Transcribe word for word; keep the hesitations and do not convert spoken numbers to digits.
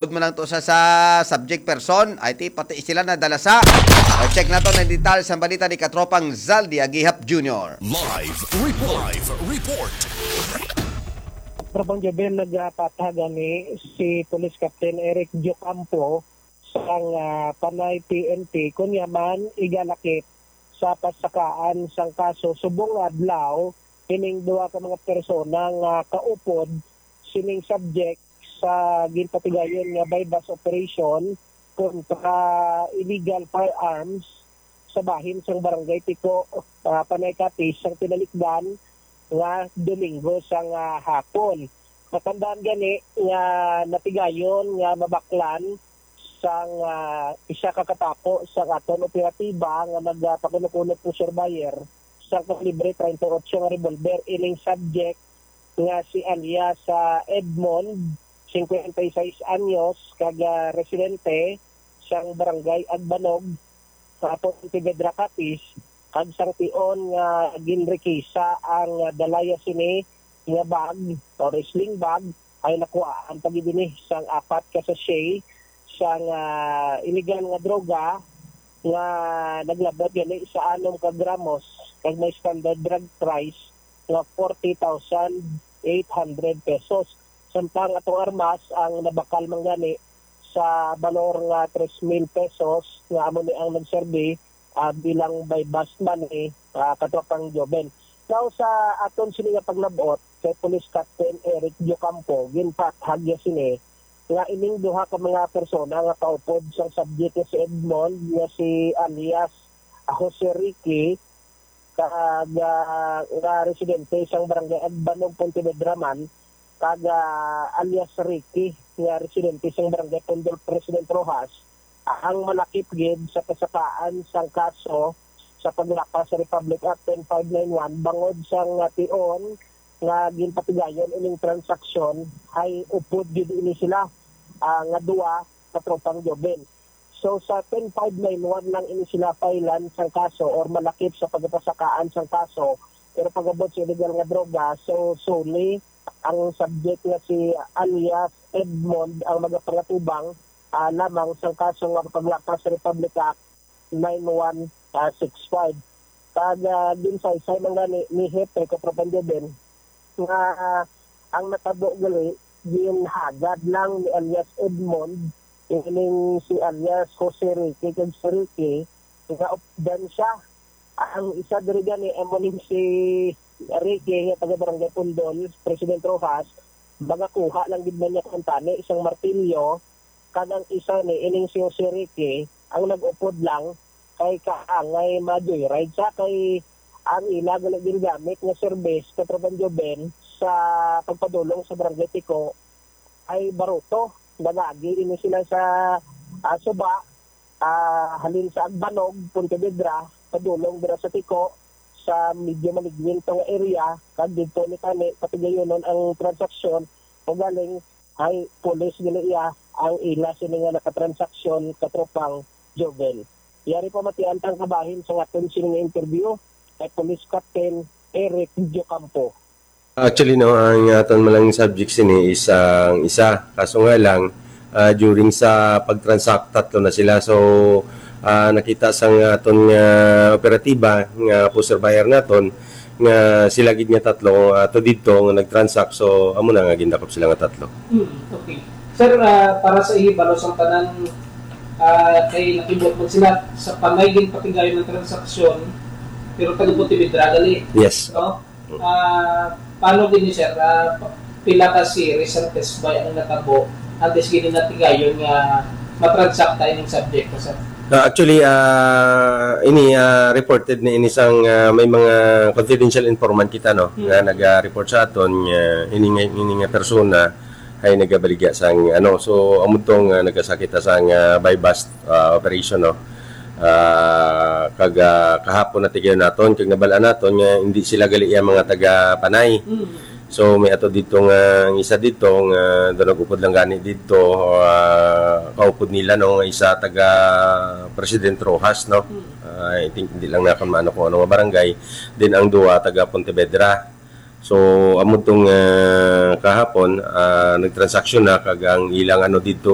Upod man lang to sa, sa subject person, ay ti pati sila nadala sa. O, check naton ang detalye sa balita ni Katropang Zaldi Agihap Junior. Live report. Live report. Trapang Jobel, nagapatha gani si Police Captain Eric Diocampo sang, ah, Panay P N P, kunya man igalakip sa pasakaan sang kaso subong nga adlaw ining duha ka mga persona nga kaupod sining subject sa ginpatigayon nga buy-bust operation kontra illegal firearms sa bahin sang Barangay Tiko, ah, Panay Capiz, sang tinalikdan nga Domingo sang, ah, hapon. Matandaan gani nga natigayon nga mabaklan sang, ah, isa ka katapo sang aton operatiba nga nagpakuno-kuno po surveyor sang kalibre treinta y ocho nga revolver ining subject nga si alias, ah, Edmond, cincuenta y seis anyos, kag, ah, residente sang Barangay Agbanog, sa Pontevedra, Capiz, kag sang tion nga ginrekisa ang, ah, dalaya sini nga bag or sling bag ay nakuhaan pa gid ini sang apat ka sachet sang, ah, illegal nga droga nga naglabot gani sa anom ka gramos kag may standard drug price nga forty thousand eight hundred pesos. Samtang atong armas ang nabakal man gani sa balor nga tres mil pesos nga amo ni ang nagserbi, ah, bilang buy-bust money, ah, Katropang Joven. Now, sa aton sini nga paglab-ot kay Police Captain Eric Diocampo, ginpathag niya sini nga ining duha ka mga persona nga kaupod sang subject nga si Edmond nga si alias Jose Ricky, kag, ah, nga residente sang Barangay Agbanog, Pontevedra man, kag, ah, alias Ricky, nga residente sang Barangay Pundol, President Roxas, ang malakip gid sa pasakaan sang kaso sa paglapas sa Republic Act ten five nine one bangod sang, ah, tion nga ginpatigayon ining transaksyon ay upod gid ini sila, ah, nga duwa, Katropang Joven. So, sa ten five nine one lang ini sila file-an sang kaso or malakip sa pagpasakaan sang kaso. Pero pag-abot sa illegal nga droga, so, suli ang subject nga si alias Edmond ang magapangatubang, ah, lamang sang kaso nga paglapas sa Republic Act nine one six five. Kag, ah, ginsaysay man gani ni Hepe Katropang Joven nga, ah, ang natabo gali ginhagad lang ni alias Edmond, ining si alias Jose Ricky kag si Ricky, nga updan siya. Ang isa diri gani amo ning si Ricky nga taga Barangay Pundol, President Roxas, magakuha lang gid man niya kuntani isang martilyo, kag ang isa ni ining si Jose Ricky ang nag-upod lang kay kaangay ma-joyride siya kay ang ila gali ginagamit nga service, Katropang Joven, sa pagpadulong sa Barangay Tiko ay baruto. Nagagi ini sila sa, ah, suba, ah, halin sa Agbanog, Pontevedra, padulong dira sa Tiko, sa medyo maligwinto nga area, kag didto ni tani patigayunon ang transaksyon, ugaling ay pulis gali iya ang ila sini nga nakatransaksyon, Katropang Joven. Yari pamatian tang kabahin sa aton sini nga interview kay Police Captain Eric Diocampo. Actually, no, ang aton man lang subject sini is ang isa. Kaso nga lang, ah, during sa pag-transact, tatlo na sila. So, ah, nakita sa nga aton nga operatiba nga poster buyer naton nga sila gid nga tatlo ato didto nga nag-transact. So, amo na nga gindakop sila nga tatlo. Hmm, okay. Sir, ah, para sa ihibalo sang tanan, ah, kay nakibot man sila sa Panay ginpatigayon ang transaksyon, pero taga Pontevedra gali. Yes. No? Ah, paano gini, sir? Ah, pa-, pila ka series ang test buy ang natabo antes gini natigayon nga matransakta ining subject ka, sir? Ah, actually, ah, ini, ah, reported ni ini sang, ah, may mga confidential informant kita, no, Hmm. nga naga-report sa aton nga ini nga, ini nga persona ay nagabaligya sang, ano, so, amo to nga nagasakita sang, ah, buy bust, ah, operation, no. Ah, kag, ah, kahapon natigayon naton kag nabal-an naton nga hindi sila gali iya mga taga Panay. Mm. So, may ato dito nga, ang isa dito nga daw nag-upod lang gani dito, ah, kaupod nila, no, nga isa taga President Roxas, no. Mm. Ah, I think, hindi lang nakon maano kung ano nga barangay. Then, ang duwa, taga Pontevedra. So, amo tong, ah, kahapon, ah, nagtransaksyon na, kag ang ilang ano dito,